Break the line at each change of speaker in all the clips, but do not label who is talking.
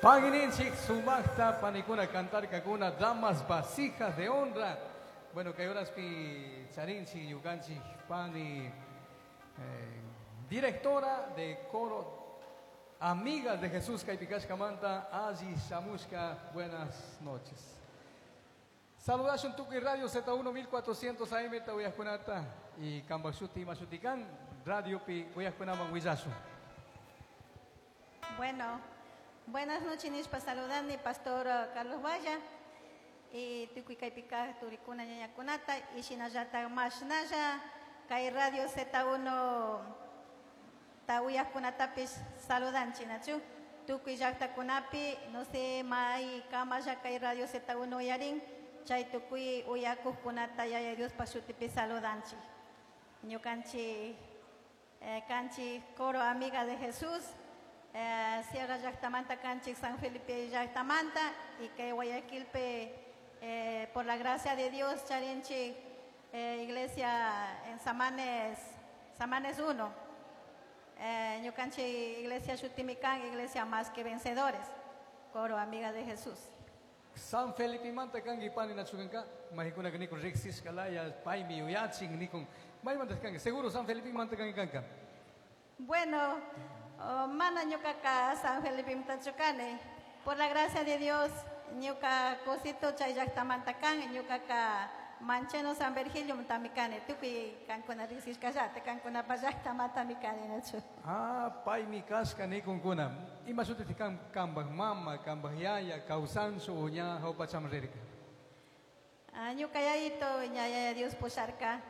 Pagininchik sumaqta panikuna cantarkakuna damas vasijas de honra. Bueno, kay horaspi charinchik ñukanchik pani directora de coro Amigas de Jesús kaypi kashkamanta alli shamushka. Buenas noches. Saludashun tukuy Radio Z1 1400 AM ta uyajkunata y kambaj shuti ima shuti kan radiopi uyajkunaman willashun.
Bueno, buenas noches, nishpa saludani Pastor Carlos Valla y tukuy kaypi kaj turikuna ñañakunata y shinallata mashnalla kay Radio Z1 ta uyajkunatapis saludanchik nachu tukuy llaqtakunapi no sé may kamalla kay Radio Z1 uyarin chay tukuy uyakuqkunata Yaya Diospa shutipi saludanchik. Ñukanchik kanchik coro Amiga de Jesús, Sierra llaqtamanta kanchik San Felipe llaqtamanta y kay Guayaquilpi por la gracia de Dios charinchik iglesia en Samanes, Samanes 1. Ñukanchik iglesia shutimi kan, iglesia más que vencedores, coro Amiga de Jesús.
San Felipe manta kanki pani nachukanka, mahikuna nikun riqsishkalaya, paymi yuyachin nikun. Maymanta kanki, seguro San Felipe manta kanki kanka.
Bueno, oh, mana ñukaka San Felipe mantachukani. Por la gracia de Dios, ñuka cosito chay llaqtamanta kan, ñukaka Mancheno San Virgilio mantami kani, tukuy kankuna riqsishkallata, kankunapa llaqtamantami kani, nachu.
Ah, paymi kashka nikunkuna. Ima shutiti kan kambaj mama, kambaj yaya, kawsanchu o ña hawpachaman rirka?
Ah, ñuka yayito, ña yaya Dios pusharka,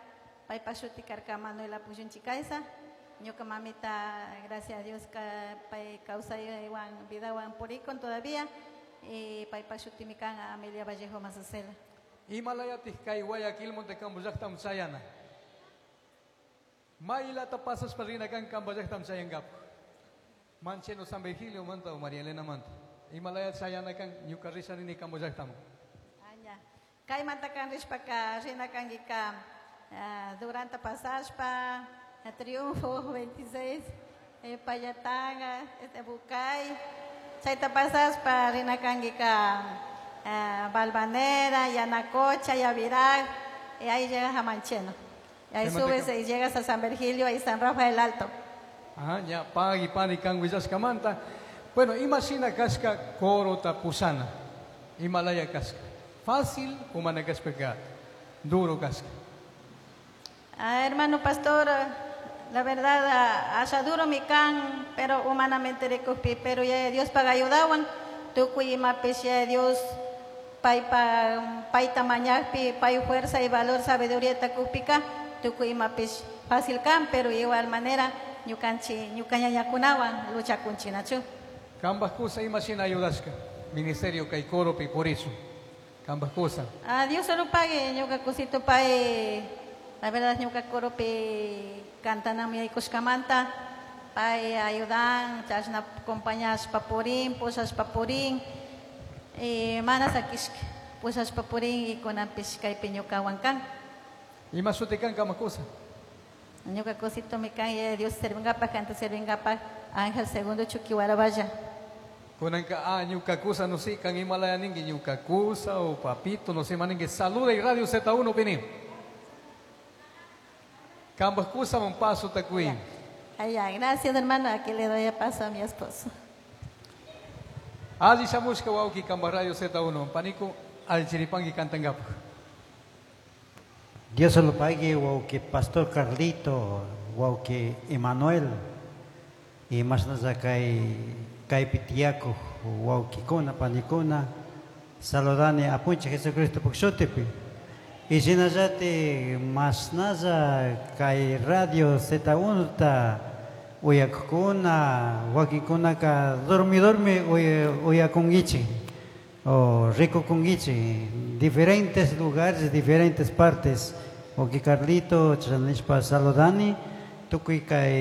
paypa shuti karka Manuela Puyunchikaysa. Ñuka mamita, gracias a Dios, ka, pay kawsaywan, vidawan purikun todavía, y paypa shutimi kan Amelia Vallejo Mazacela.
Imalayatik kay Guayaquil monte kambo llaqtam chayana. Maylata pasashpa rina kan kambo llaqtam chayangapu. Mancheno San Virgilio manta o María Elena manta. Imalaya chayana kan ñuka risha rini kambo llaqtam.
Aña. Kaymanta kan rishpaka rina kankika, Duranta pasashpa, Triunfo 26, Pallatanga, Bucay. Chayta pasashpa rina kankika, Balvanera, Yanacocha, Yavirá, y ahí llegas a Mancheno. Y ahí
Te
subes
mantengo.
y llegas a San Virgilio y San Rafael Alto.
Ajá, ya pagui pani kan willashkamanta. Bueno, imagina kashka coro tapusana. Himalaya kashka. Fácil o mana kashka duro kashka.
Ah, hermano pastor, la verdad, haya duro mi can, pero humanamente recupí, pero ya Dios paga ayudaban. Tukuy imapis ya Dios pay pa, pay tamañapi, pay fuerza y valor, sabiduría takupika, tukuy imapis fácil can, pero igual manera ñukanchi, ñukañañakunawan lucha kunchinachu.
Kambaj kusa imashina ayudashka, ministerio kay coropi por eso. Kambaj kusa.
A Dios solo pague, ñuka kusito pay, la verdad ñuka coropi cantanami aykushkamanta, pay ayudan, chashna acompañas papurín, posas papurín, y manas akishk, posas papurín y kunanpish kaypi ñuka wankan.
Ima shuti kan kambaj kusa?
Ñuka kusito mi kan, y Dios servingapaj, canta servingapaj, Ángel Segundo Chuquihuaravalla.
Kunanka, ñuka kusa, no sé, kan Himalaya ningi, ñuka kusa o papito, no sé, maningi, saluda y Radio Z1, vení. Kambaj kusa, un paso tacuí.
Ay, ya, gracias, hermano, aquí le doy el paso a mi esposo.
Alli shamushka wawki kambaj Radio Z1, panico, al chiripangi cantangapa.
Dios se lo pague, wawki Pastor Carlito, wawki Emanuel, y más nada kay pitiaco, wawki kuna, panikuna, saludani apunche Jesucristo pukshutipi. Y shinallati más nada kay Radio Z1 ta uyakuna, wakikuna ka dormi dormi uyakungichi, o rico kungichi, diferentes lugares, diferentes partes. Wawki Carlito, chanishpa saludani, tukuy kay